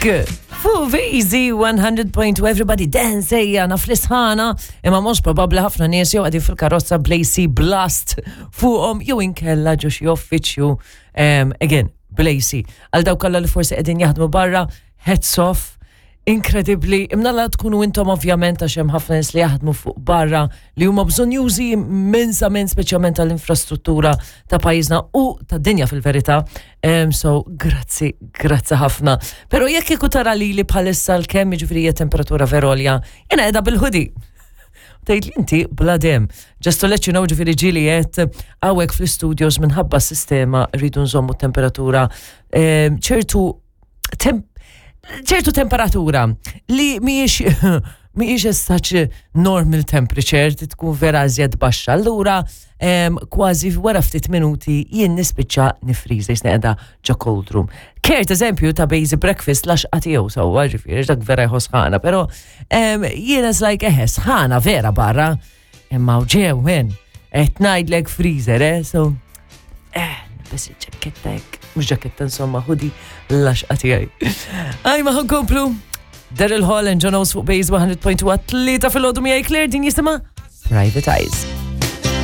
Pink fuq VZ 100.2 Everybody Dance ejja naf l-isħana imma mhux probabbli ħafna nies jew qegħdin fil-karozza bl-AC blast fuqhom jew inkella ġo xi uffiċċju again bl-AC. Għal dawk kollha li forsi qegħdin jaħdmu barra, hats off, Inkredibbli, imnalla tkunu intom ovvjament għax hemm ħafna nies li jaħdmu fuq barra li huma bżonjużi immensament speċjalment tal-infrastruttura ta' pajjiżna u tad-dinja fil-verità. Um, so, grazzi, grazzi ħafna. Pero jekk kieku tara li li bħalissa l-kemm jiġifieri hija temperatura verolja, jiena qiegħda bil-hoodie. Tgħid li inti bla dem. Just to let you know ġifieri ġieli qed hawnhekk fl-studios minħabba s-sistema rridu nżommu temperatura ċertu ċertu temperatura li mhijiex mhijiex as such normal temperature, tkun vera iżjed baxxa. Allura kważi wara ftit minuti jien nispiċċa nifriża jisni qiegħda ġo cold room. Kert eżempju ta' basic breakfast laxqa tiegħu sewwa ġifieri dak vera jħoss ħana, però jiena like eħe sħana vera barra. Imma u ġew, men, qed ngħidlek freezer, eh, so, eh, nilbes il-ġaketta hekk, mhux ġaketta insomma, hoodie l-laxqa tiegħi. Aj, ma ħankomplu. Daryl Hall and John Oates fuq Base 100.1 tlieta fil-ħodu miegħi Claire din jisimha Private Eyes.